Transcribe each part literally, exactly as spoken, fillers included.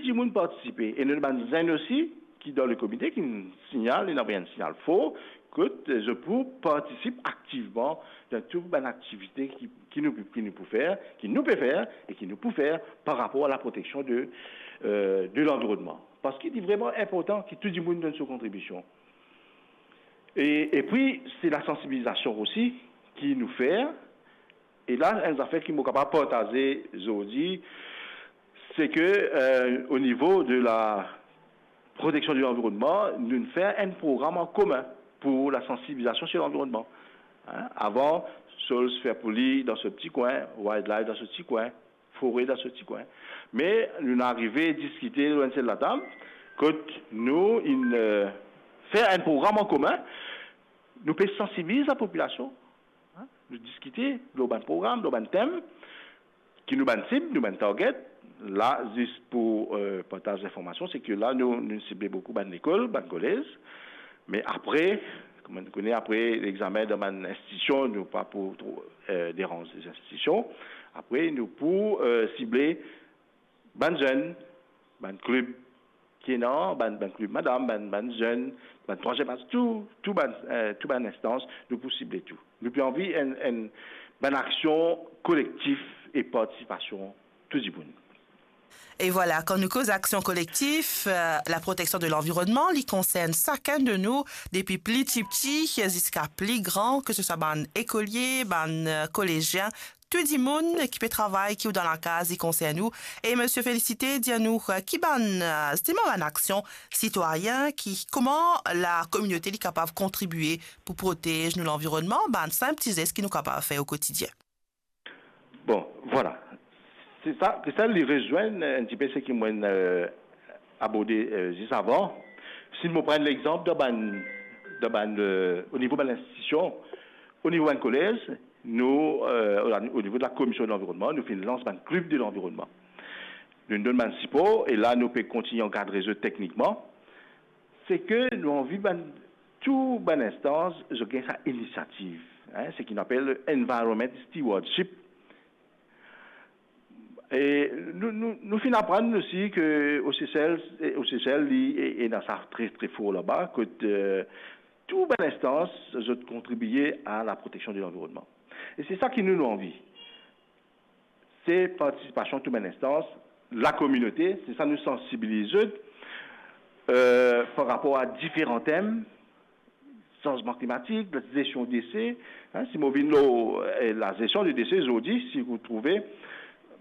dimoun partisipe. E nou bann zenn osi, ki dan le komite, ki signal, ena enn signal for, kot, eh, zot pou partisip aktivman dan tou bann aktivite ki, ki nou, ki nou pou fer, ki nou pe fer e ki nou pou fer par rapor a la proteksion de, eh, de lanvironnman. Parski li vreman inportan ki tou dimoun donn so kontribision. E, epi, se la sansibilizasion osi ki nou fer. E la, enn zafer ki mo kapav partaze zordi, se ke, eh, o nivo de la proteksion de lanvironnman, nou fer enn program an komin pou la sansibilizasion sir lanvironnman. Hein, avan, SOLS fer pou li dan so ti kwin, Wildlife dan so ti kwin, Fore dan so ti kwin. Me nou arive diskite lor enn sel latab, kot nou inn, eh, fer enn program an komin, nou pe sansibiliz lapopilasion, hein, nou diskite lor bann program, lor bann tem, ki nou bann sib, nou bann target. La, zis pou, eh, partaz linformasion, se ke la, nou, nou sible boukou bann lekol, bann kolez. Me apre, kouma nou kone, apre lexamen dan bann institision, nou pa pou tro, eh, deranz les institutions. Apre, nou pou, eh, sible bann zenn, bann klib ki ena, bann, bann klib madam, bann, bann zenn, bann trwaziem az, tou, tou bann, eh, tou bann instans, nou pou sible tou. Nou pe anvi enn, enn, bann aksion kolektif e partisipasion tou dimoun. E vwala, kan nou koz aksion kolektif, eh, la proteksion de lanvironnman, li konsern sakenn de nou, depi pli tipti ziska pli gran, ke se swa bann ekolie, bann, eh, kolezien, tou dimoun ki pe travay, ki ou dan lakaz, li konsern ou. E Misie Félicité, dir nou, eh, ki bann, eh, zisteman bann aksion sitwayin, ki, kouma lakominote li kapav kontribie pou protez nou lanvironnman, bann sinp ti zes ki nou kapav fer o kotidien. Bon, vwala. Se sa, se sa li rezwenn enn tipe seki mo'nn, eh, aborde, eh, zis avan. Si nou pran lexanp dan bann, dan bann, eh, o nivo bann institision, o nivo bann kolez, nou, eh, o, o nivo de la komision de lanvironnman, nou finn lans bann klib de lanvironnman. Nou donn bann sipor, e la nou pe kontigne ankadre zot teknikman. Se ke nou anvi bann, tou bann instans, zot gagn sa inisiativ, hein, seki nou apel environment stewardship. E nou, nou, nou finn aprann osi ke o Sesel, o Sesel, li, e, ena sa tre, tre for laba, kot, eh, tou bann instans, zot kontribie a la proteksion de lanvironnman. E se sa ki nou, nou anvi. Se partisipasion tou bann instans, lakominote, se sa nou sansibiliz zot, eh, par rapor a diferan tem, sanzman klimatik, lazesion dese, hein, si mo vinn lor, eh, lazesion de dese zordi, si ou trouve,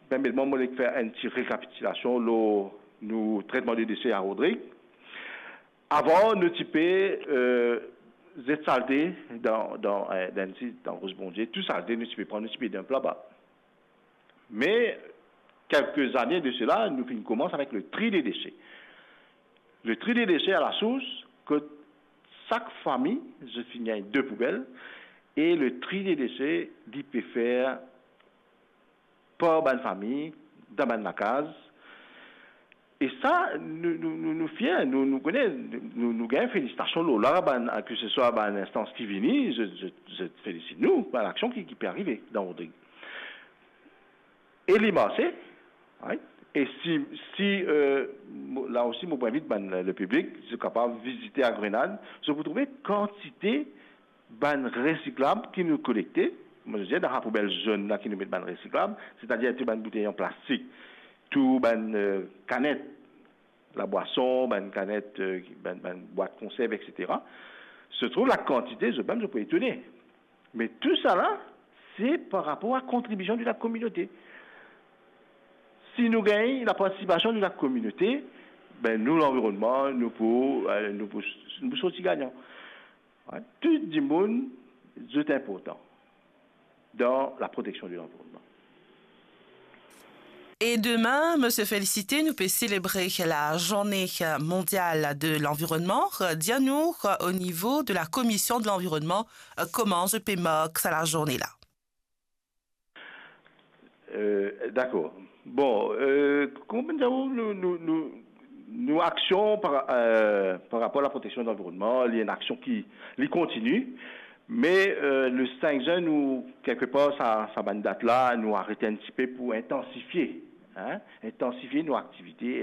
permet mwa, mo le fer enn ti rekapitilasion lor nou tretman de dese a Rodrig. Avan, nou ti pe, eh, zet salte dan, dan, eh, dan enn sit, dan Ros Bondie, tou salte nou ti pe pran, nou ti pe danp laba. Me, kelke zane de sela, nou finn koumans avek le tri de dese. Le tri de dese a la sours, kot sak fami, zot finn gagn de poubel, e le tri de dese, li pe fer par bann fami, dan bann lakaz. E sa, nou, nou, nou, nou fier, nou, nou kone, nou, nou gagn felisitasion lor la, bann, ke se swa bann instans ki vini, zot, zot, zot felisit nou, bann aksion ki, ki pe arive dan Rodrig. E li marse, right? E si, si, eh, mo, la osi, mo pou invit bann, lepiblik, zot kapav vizite a Grenad, zot pou trouve kantite bann resiklab ki nou kolekte, mo dir, dan sa poubel zonn la ki nou met bann resiklab, setadir tou bann boutey an plastik, tou bann, eh, kanet labwason, bann kanet, eh, bann, bann bwat konserv, etsetera. Se trouv lakantite, zot mem, zot pou etone. Me tou sa la, se par rapor a kontribision de lakominote. Si nou gagn lapartisipasion de lakominote, be, nou, lanvironnman, nou pou, eh, nou pou, nou pou sorti gagnan. Wi, tou dimoun, zot inportan dan laproteksion de lanvironnman. E demin, Misie Félicité, nou pe selebre la Journée mondiale de l'environnement. Dir nou, o nivo de la Commission de l'environnement, kouma zot pe mark sa lazourne la? Eh, dakor. Bon, eh, kouma nou, nou, nou, nou, nou aksion par, eh, par rapor a laproteksion de lanvironnman, li enn aksion ki, li kontini, me, eh, le sink zen, nou, kelkepar, sa, sa bann dat la, nou aret enn tipe pou intansifie, hein, intansifie nou aktivite,